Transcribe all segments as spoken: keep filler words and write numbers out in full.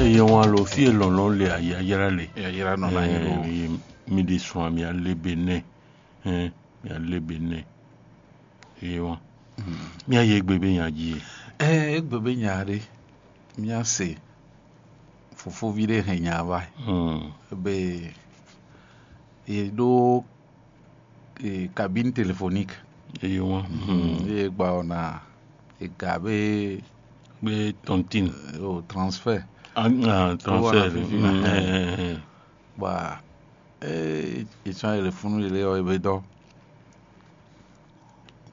Eye wán lo fí e lɔ̌nlɔ́n le ayǎyá le. Yayra nɔ na nyi ɖo. Mi ɖi sun ami alebe nɛ. Hɛn, mi alebe nɛ. Eye wán. Mi ayi egbe be nya ji e. Ɛ egbe be nya ɖe. Mía se fofoví ɖé hɛn nya wá. Hmm. Be ye ɖó eh, cabine téléphonique. Eye wán. Hmm. Ye gba ɔ́ na ega be Be tɔntin. O transfert. Ah, ah, transfert. Wana fifi na. Hmm, eh, eh, eh. Ba eh, etsɔn yele funu yele ɔ ebe dɔ.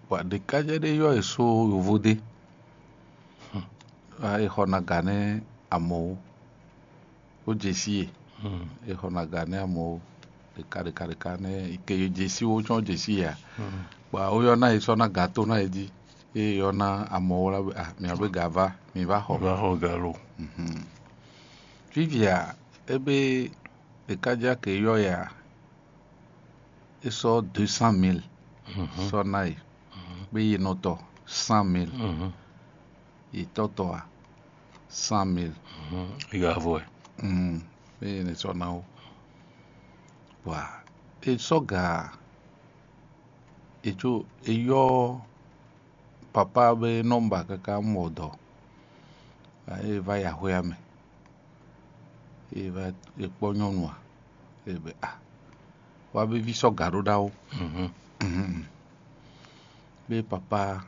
Ba ɖeka jɛ ɖe yɔ eso yovo de. Ba e xɔ na ga nɛ amɔ wo. Wo jesi e. Hmm. E xɔ na ga nɛ amɔ wo. Ɖeka ɖeka ɖeka nɛ ke jesi wo tsɔn jesi ya. Hmm. Ba wo yɔ na e sɔ na ga to na e ji. E yɔ na amɔ wo la be ah mi abe ga va mi va xɔ. Va xɔ ga lo. Mhm. Fifia ebe ɖeka ja ke yɔ ya. E sɔ deux cent mille. Mhm. Sɔ na e. Mhm. Be yi nɔ tɔ cent mille. Mhm. Yi tɔ tɔ a cent mille. Mhm. Yi ga vɔ ɛ. Mm. Be yi ne sɔ na wo. Wa e sɔ ga e tso e yɔ papa be nɔmba kaka mɔ dɔ. E va yi axwé ya mɛ. E va e kpɔ nyɔnu a? E be a wa be vi sɔ ga ɖo ɖawo. Mhm. Mhm. Be papa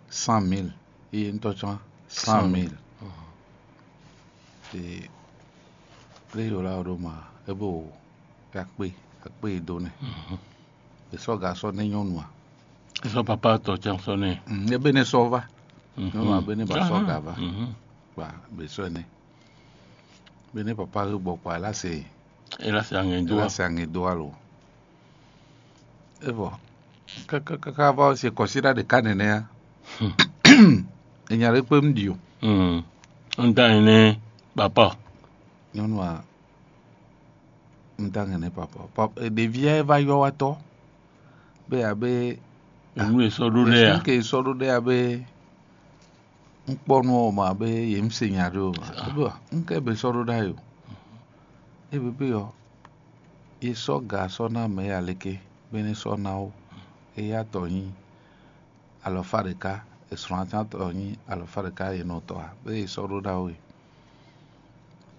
cent mille. Eye ŋutɔ tsɔn cent mille. Mhm. E lé yɔ la ɖo ma e bo akpé akpé e do nɛ. Mhm. E sɔ ga sɔ ne nyɔnu a? E sɔ papa tɔ tsɔn sɔ ne. Mm, e be ne sɔ va. Mhm. Nyɔnu a be ne ba sɔ ga va. Mhm. Ba be sɔ ne. Be ne papa he gbɔ kpa la se. E la se aŋɛ do. La se aŋɛ do alo. Evɔ kaka kaka va se kɔsíɖa ɖeka nɛnɛ a. Hmm. E nya ɖe kpe un ɖi o. Hmm. Un da ene papa. Nyɔnu a un da ene papa. Papa ɖevi a va yɔ wa tɔ. Be abe. Enu e sɔ ɖo ɖe a. Ke sɔ ɖo ɖe abe. Un kpɔ nu ɔ́ ma be yě un se nya ɖé o. Ah. Ɖó un kɛ be sɔ́ ɖó ɖ'ayǐ o. É bebé ɔ́, é sɔ́ ga sɔ́ ná mɛ ya léké, bɔ é ní sɔ́ ná ó. Éyá tɔ nyí alɔfá ɖeka, è sɔ́ ná tɔn nyí alɔfá ɖeka e nɔ tɔ ǎ, bɔ é sɔ́ ɖó ɖ'ayǐ o.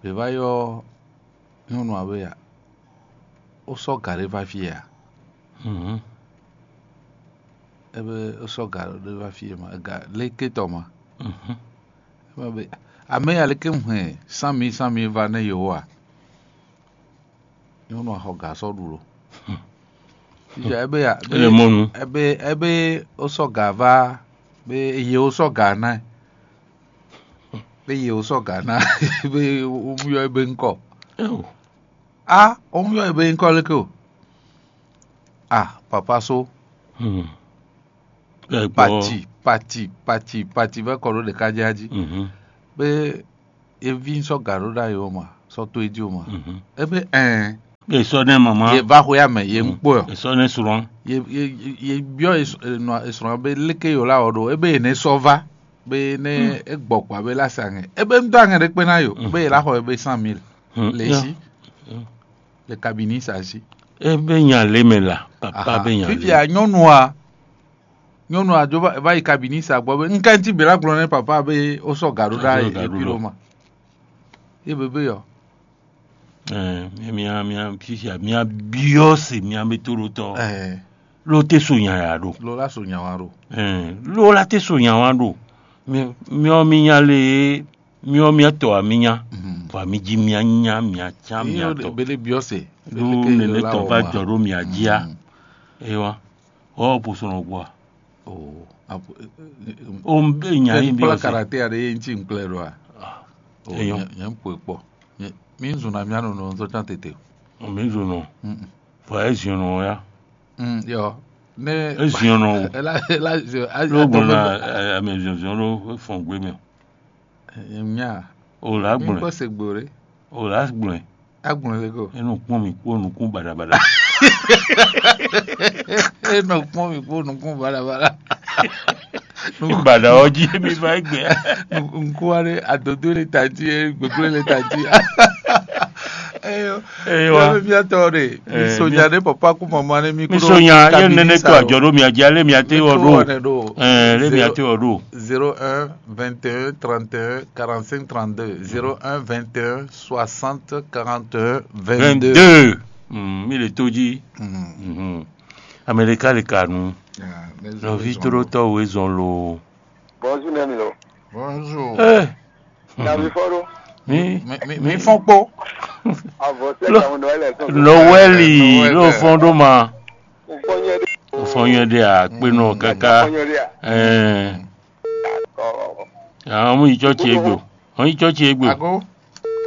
Bě va ylɔ́ nyɔ́nu ǎ wɛ a? Ó sɔ́ gǎ ɖé vá fí a? Mhm. É be ó sɔ́ gǎ ɖé vá fí e ma, gǎ léké tɔ ma. Mhm. É ma be amɛ ya léké hɛn sán mi sán mi va nɛ yǒ a? Nyɔ́nu a xɔ gǎ sɔ́ ɖu lo. Fífia é be ya É le mɔ nu. É be é be ó sɔ́ gǎ vá be ye ó sɔ́ gǎ ná ɛ. Be ye ó sɔ́ gǎ ná be ó mú yɔ é be ŋkɔ. Eo. A ó mú yɔ é be ŋkɔ léké o. A papa só. Hmm. Pati pati pati pati vɛ kɔ ɖó ɖeka jɛ jí. Mhm. Be evi sɔ́ gǎ ɖó ɖ'ayǐ o ma, sɔ́ tó é jí o ma. Mhm. Ebe ɛn. Ye sɔ ne mama. Ye va xwe amɛ ye ŋkpɔ yɔ. Ye sɔ ne srɔn. Ye ye ye byɔ esrɔn be léke yɔ la wɔ ɖo ebe ye ne sɔ va be ne e gbɔ kpa be la sa ŋɛ ebe ŋdɔ aŋɛ ɖe kpe na yo be ye la xɔ ebe cent mille. Hmm. Le si. Le kabini sa si. Ebe nya le mɛ la papa be nya le. Fifia nyɔnua nyɔnua dzo va yi kabini sa gbɔ be ŋkɛnti bela gblɔ ne papa be o sɔ ga ɖo ɖa e pilo ma. Ye bebe yɔ. Ɛɛ, mia mia fifia mia biɔ se mia be to ɖo tɔ. Ɛɛ. Lo te so nya ya ɖo. Lo la so nya wa ɖo. Ɛɛ, lo la te so nya wa ɖo. Mi miɔ mi nya le miɔ mia tɔ a mi nya. Mhm. Vɔ mi ji mia nya mia can mia tɔ. Bele biɔ se. Ɖo nene tɔ va jɔ ɖo mia ji a. Mhm. Ewa. Ɔ posɔnɔ gbɔ a. O apo. O n be nya yi bi kpla ɔsi. Karate aɖe ye ŋuti ŋkplɛ ɖo a? Ah, o enyɔ. Nyɛ ŋkpɔ kpɔ. Mi zun na mia nɔ nɔ zɔ can tete. Mi zun nɔ. Vɔ e ziɔn nɔ ya. Mm, yɔ ne e ziɔn nɔ o. Ela ela ziɔn a. Ló gbɔn na ame ziɔn ziɔn ló fɔn gbé mi. Nya. O la gblɔn. Kɔ se gbo re. O la gblɔn. Agblɔn le ko. E nɔ kpɔn mi kpó nukún baɖabaɖa. E nɔ kpɔn mi kpó nukún baɖabaɖa. Baɖa ɔ́ jí mi va égbé. Nukúnwa ɖé adodó le ta jí, gbégbé le ta jí. Eyo. Eyo wa. Míatɔ ɖe, mi sonya ɖe papa kú mama ne mi. Mi sonya ye nene to ajɔ ɖo mia jí ale mia te wɔ ɖo. Ɛɛ le mia te wɔ ɖo. Zéro un, vingt et un, trente et un, quarante-cinq, trente-deux. Zéro un, vingt et un, soixante, quarante et un, vingt-deux. Vingt-deux. Mi le to jí. Amɛlika le ka nu. Nɔví tlólótɔ́ we zɔn lo. Bonjour nɛ mi lo. Bonjour. Eh, Davi fɔɖo. Mi mi mi fɔn kpó. Avɔ sɛ kamu nɔ ɛlɛ sɔn. Nɔwɛli ló fɔn ɖó ma. Fɔnyɛ de. Fɔnyɛ de a kpe nɔ kaka. Fɔnyɛ de a. Ɛɛ. Ɔ. Àwọn ọmọ yìí church egbe. Àwọn yìí church egbe. Ago.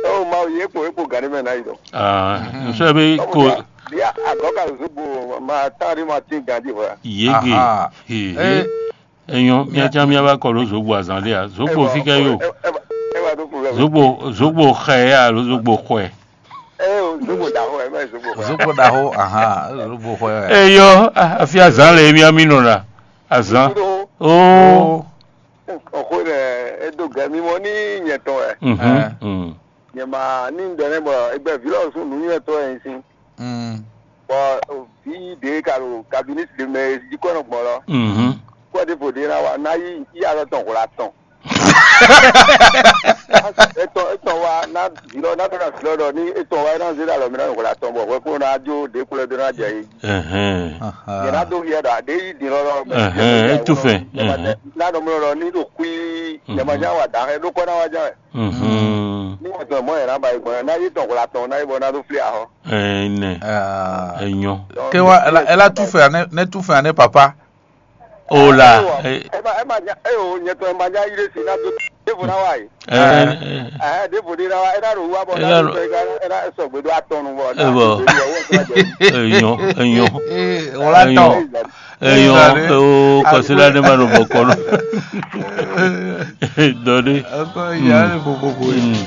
Ɔ ma o ye kpo ekpo gani mɛ na yi dɔ. Ah, nsọ ebe ko. Bia agɔ ka zogbo ma tan di ma tin gadi hɔ. Yege. Aha. He. Eh. Enyɔ, míatsã míava kɔ ɖo zogbo azán ɖe a? Zogbo fi kɛ yo. Zogbo zogbo xɛ ya alo zogbo xɔɛ? Zogbo ɖaxo ɛ mɛ zogbo xɔɛ. Zogbo ɖaxo, ahan, zogbo xɔɛ. Eyɔ, afi azán le mía mi nɔ ɖa. Azán. Oo. Xɔxɔe ɖe edo gɛ mi mɔ ní nyɛ tɔn wɛ. Mhm. Nyɛ ma ní ɖɔ nɛ bɔ egbɛ vǐ lɔ sún nǔnywɛtɔ́ wɛ nyi sín. Bɔ vǐ ɖě ka ɖo kabinɛti ɖé mɛ jí kɔ nɔ gbɔn lɔ. Kɔ ɖěvo ɖé ná wa ná yí yí alɔ tɔn hwla tɔn. Etɔn etɔn wa ná vǐ lɔ ná ɖɔ ná vǐ lɔ ɖɔ ní etɔn wa é ná zé ɖo alɔ mɛ ná hwla tɔn bɔ hwɛ kó ná jó ɖě kplɔ́ dó ná jɛ yí. Yɛ ná dó hiɛ ɖɔ aɖé yí din lɔ lɔ mɛ. Etufɛn. Ná ɖɔ mlɔ ɖɔ ní ɖo kú yí yɛ ma nya wa dǎ hɛ ɖó kɔ ná wa nya wɛ. Ní wọ́n tún ẹ̀ mọ́ ẹ̀ ná ba ìgbọ̀n ẹ̀ ná yí tɔn hwla tɔn ná yí bɔ ná dó flé ahọ́. Ɛnɛ. Enyɔ. Ke wa ela ela tu fɛ ane ne tu fɛ ane papa. O la. Ẹ má ẹ má nya ẹ o nyɛ tɔn ẹ má nya yí ɖé si ná dó dévo ná wá yìí. Ẹ Ẹ dévo dé ná wá ẹ ná ɖo wá bɔ ná dó ẹ ná ẹ ná sɔgbe dó atɔnu bɔ ná Ẹ bɔ. Dó ẹ wọ́n tó àjẹ. Enyɔ enyɔ. Wòlá tɔ. Enyɔ o kɔsílá ne ma ɖo bɔkɔ nɔ. Dɔ ɖé. Ɛkɔ ìyá rẹ̀ gbogbogbò yìí.